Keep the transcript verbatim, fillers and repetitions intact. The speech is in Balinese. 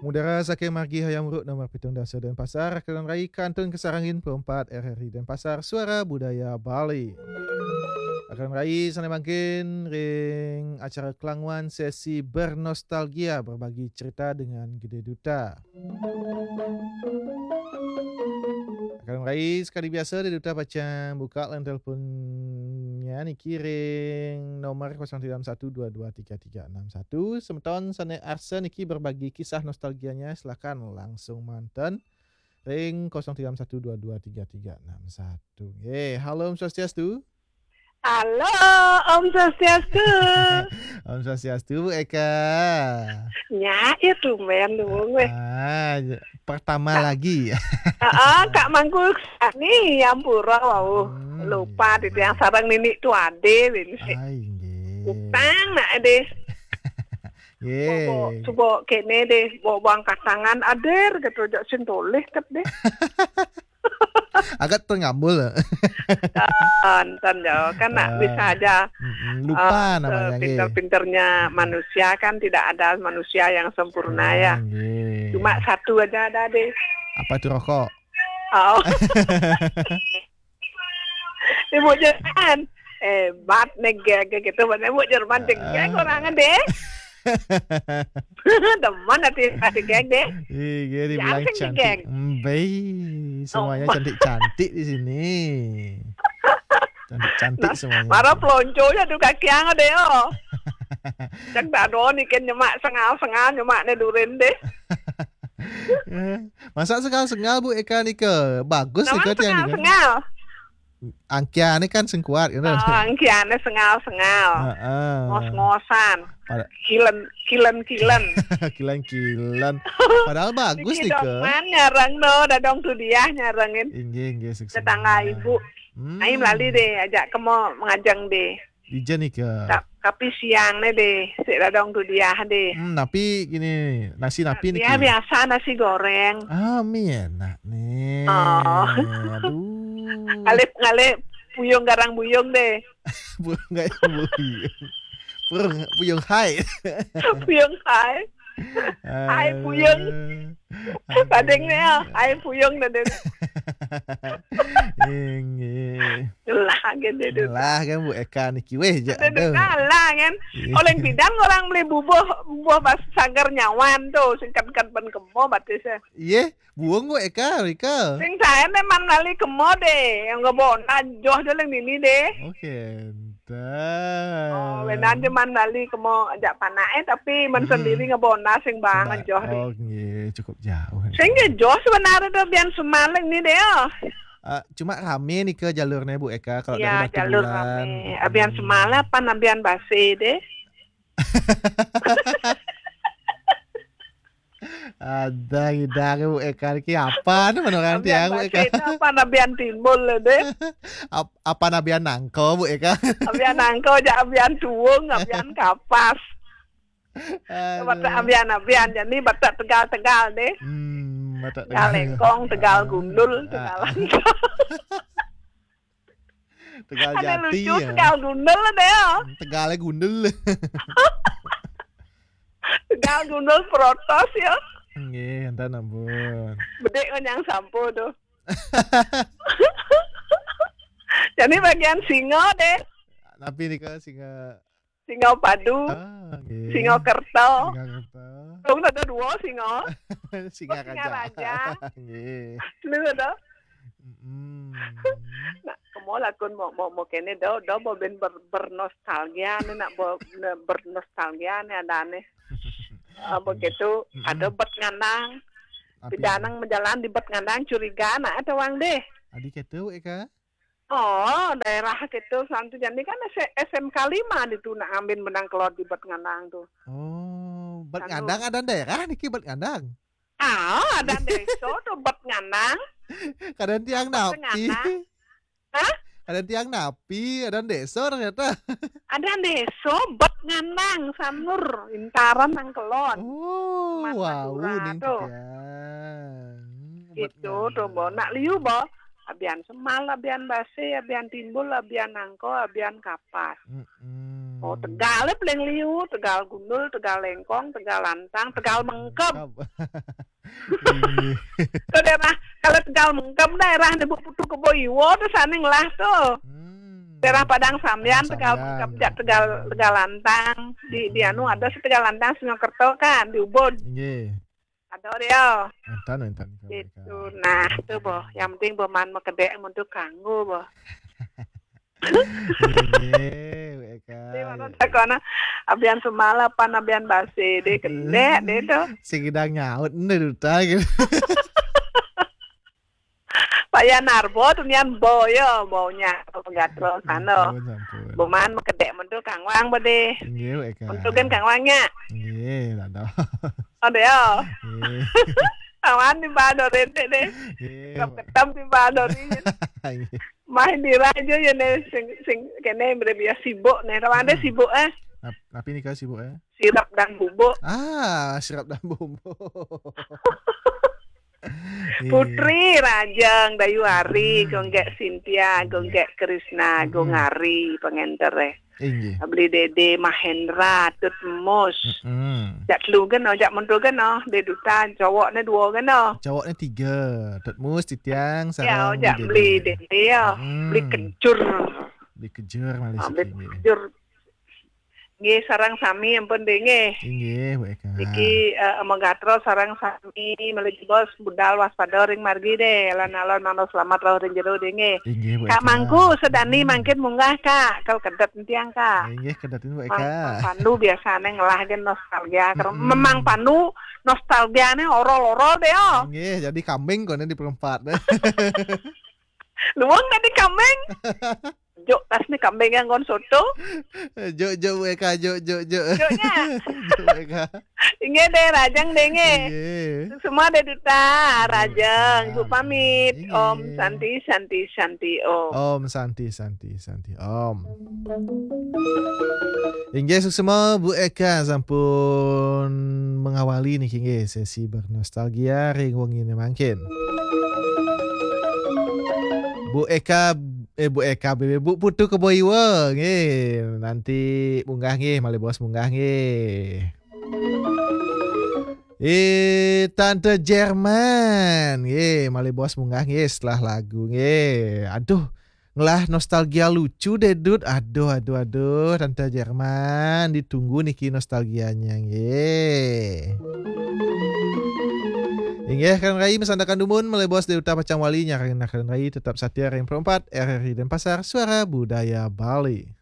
Udara saking margi Hayam Wuruk nomor pitung dasa Denpasar, Akademi Rai Kantun Kasarangin Pro empat R R I Denpasar, Suara Budaya Bali. Akademi Rai sané mangkin ring acara Kelangwan sesi bernostalgia, berbagi cerita dengan Gede Duta. Akademi Rai, sekadi biasa, Gede Duta pacang buka line teleponnya niki ring nomor kosong tiga satu dua dua tiga tiga enam satu. Semeton sané arsa niki berbagi kisah nostalgianya, silakan langsung manten ring kosong tiga satu dua dua tiga tiga enam satu. Nggih, halo, Om Swastiastu. Halo, Om Swastiastu. Om Swastiastu, Bu Eka. Nya, ya tumben, dumun wéh. Ah, pertama lagi. Heeh, Kak Mangku sani, ampura wau. Hmm, lupa, iya. Titiang sareng Nini Tuade, wéh. Ai, nggih. Utang nak deh. Nggih. Bawa, coba kéné deh, bawa bang katangan adir gitu, jak sing tolih ket deh. Agak tengambul. Enten, enten, ya. Kan nak, ah, bisa aja, mm-mm, lupa, eh, namanya, nggih. Sepinter-pinternya manusia kan tidak ada manusia yang sempurna, ya. Ah, nggih. Cuma satu aja ada deh. Apa itu, rokok? Oh. Ibu Jerman. Hebat nih, gege gitu. Mana Ibu Jerman, cek, ah, gege orangnya deh. Demen hati, hati gege deh. Ih, gege dibilang cantik. Cantik gege. Embe, semuanya, oh, cantik-cantik di sini. Cantik-cantik, nah, semuanya. Mara pelonconya tuh kaki yang ada, yo. Cek dado nih, kan nyemak sengal-sengal, nyemak nih durin deh. Eh, masa sengal-sengal, Bu Eka nika? Bagus nika, tiang nika. Sengal-sengal. Angkiane kan sing kuat, gitu. Ah, angkiane sengal-sengal. Heeh. Ngos-ngosan. Pada- Kilen, kilen, kilen. Kilen-kilen. Padahal bagus nika. Niki dong man nyareng no, dadong tu dia nyarengin. Inggih, inggih, sukses. Tetangga ibu. Hmm. Aim lali deh, ajak kemo mengajeng deh. Dija nika. Ta-, tapi siang nih deh, sik dadong tu dia deh. Hmm, tapi gini, nasi napi niki? Ya, biasa nasi goreng. Ah, mi enak nih. Oh. Aduh. Ngalih, ngalih puyung garang buyung deh. Puyung garang buyung. Puyung, puyung hai. Puyung hai. Hai, puyung. Aduh. Pading nih, ya. Hai, puyung dah deh. Inggih. Ngelah kan dia tu. Ngelah kan Bu Eka niki weh, jak. Ada, aduh, ngelah kan. Iya. Oleh bidan orang beli bubuh, bubuh bas sanggar nyawan tu, singkat-singkat ban kemo batis ya. Iya, buung Bu Eka, Rika. Sing saya memang nali kemo deh, yang ngebon, nah, joh je leng nini deh. Oke, dah. Oh, benar je man nali kemo ajak panak eh, tapi man, hmm, sendiri ngebon, nah, sing bang, sing ba-, joh deh. Oh, nggih, cukup jauh. Sing je joh sebenarnya tu bian semaleng ni deh, oh. Ah, cuma rame nih ke jalurnya, Bu Eka, kalau, ya, dari Batu Bulan. Jalur rame. Abian, hmm, semala pan abian base deh. Ada ngidang, Bu Eka, ki apa nih menurut tiang, Bu Eka? Abian base itu pan abian timbul deh. Ap-, apa abian nangko, Bu Eka? Abian nangko, ja abian tuung, abian kapas. Aduh. Batak abian-abian, jadi Batak Tegal-Tegal deh. Hmm, Batak Tegal. Tegal Lengkong, Tegal, ah, Gundul, ah, Tegal Langkong. Tegal Jati, lucu, ya. Tegal Gundul deh, ya. Tegalnya Gundul. Tegal Gundul Protos, ya. Nggih, enten ampun. Bedek kan yang sampo tuh. Jadi bagian singa deh. Tapi ini ke singa Singa Padu. Ah, nggih. Singa Kerta. Singa Kerta. Dong ada dua singa. Singa Raja. Nggih. Lu ada? Mm-mm. Nak, kemo lakun mau, mau, mau kene do, do mau ben ber-, bernostalgia nih, nak, bo-, ne-, bernostalgia nih ada nih. Ah, begitu, mm-mm, ada bet ngandang. Tapi pidanang menjalan di bet ngandang curiga, nak, ada wang deh. Adi ketu, Eka? Oh, daerah gitu, Santu Jandi kan S-, S M K lima di tu nak ngambil menang kelot di Bet Ngandang tu. Oh, Bet Ngandang ada daerah niki Bet Ngandang? Ah, ada desa tu Bet Ngandang. Kadang tiang napi. Hah? Kadang tiang napi, ada desa ternyata. Ada desa Bet Ngandang, Sanur, Intaran nang kelot. Oh, wow, ning tu. Tiang. Itu tu, bo. Nak liu, bo. Abian semal, abian base, abian timbul, abian nangko, abian kapas. Mm-mm. Oh, Tegal paling liu, Tegal Gundul, Tegal Lengkong, Tegal Lantang, Tegal Mengkeb. Mengkeb. Inggih. Itu daerah, kalau Tegal Mengkeb daerah di Bukit Putu Kebo Iwa tu sana ngelah tu. Hmm. Daerah Padang Sambian, Padang Tegal Sambian. Mengkeb, jak Tegal, Tegal Lantang. Di, di anu ada si Tegal Lantang, Sungai Kerto kan, di Ubud. Inggih. Ada dia. Enten, enten. Itu. Nah, tu boh. Yang penting boh man makedek untuk kanggo boh. Inggih, Bu Eka. Jadi, mana takona, abian semala pan abian basi, dia kedek, dia tu. Si gedang nyaut, ni duta gitu. Paya narbo tu nian bo yo, bo nya, bo gatro sana. Ampun, ampun. Boman makedek mentu Kang Wang bade. Inggih, Bu Eka. Mentu kan Kang Wang nya. Inggih, ada. Ada ya. Inggih. Awan di bado rente deh. Inggih. Ketem di bado ni. Inggih. Mah di raja ya ne sing, sing kene mere biasa sibuk ne. Tawan deh sibuk eh. Nap-, napi nika sibuk eh? Sirap dan bubuk. Ah, sirap dan bubuk. Iya. Putri Rajang, Dayu Ari, Gonggek Cynthia, Gonggek Krisna, Gong Ari, pengenter eh. Inggih. Beli Dede, Mahendra, Tut Mus. Mm-mm. Jak telu geno, jak mentu geno, de duta, cowok ne dua geno. Cowok ne tiga, Tut Mus, Titiang, ya, sarang jak beli Dede ya. Mm. Beli kejur. Beli kejur malih. Ah, beli kejur. Nggih, sareng sami ampun deh nggih. Inggih, Bu Eka. Iki, eh, Ema Gatro sareng sami malih bos budal waspada ring margi deh. Alon-alon mangda selamat rauh ring jero deh nggih. Inggih, Bu Eka. Kak Mangku sedani mangkin munggah, Kak. Kal kedet entiang, Kak. Inggih, kedetin, Bu Eka. Mang, Mang Pandu biasane ngelah gen nostalgia. Mm-mm. Memang Pandu nostalgiane orol-orol deh, oh. Inggih, jadi kambing kone di perempat. Luwung tadi kambing. Juk tas ni kambing yang kon soto. Juk, juk, Bu Eka, juk, juk, juk. Juknya. Juk, Bu Eka. Inggih deh, Rajang deh nggih. Inggih. Semua deh duta, Rajang. Inggih. Bu pamit. Inggih. Om Santi, Santi, Santi, Om. Om Santi, Santi, Santi, Om. Inggih, suksma Bu Eka sampun mengawali niki nggih sesi bernostalgia ring wengine mangkin. Bu Eka, eh, Bu Eka, Bu Putu Kebo Iwa, nggih. Nanti munggah nggih, malih bos munggah nggih. Eh, Tante Jerman, nggih, malih bos munggah nggih setelah lagu nggih. Aduh, ngelah nostalgia lucu deh, Dut. Aduh, aduh, aduh, Tante Jerman, ditunggu niki nostalgianya nggih. Inggih, Kang Rai, masandekan dumun, malih bos deh duta pacang wali nyarengin Kang Rai, tetap satia ring perempat, R R I Denpasar, Suara Budaya Bali.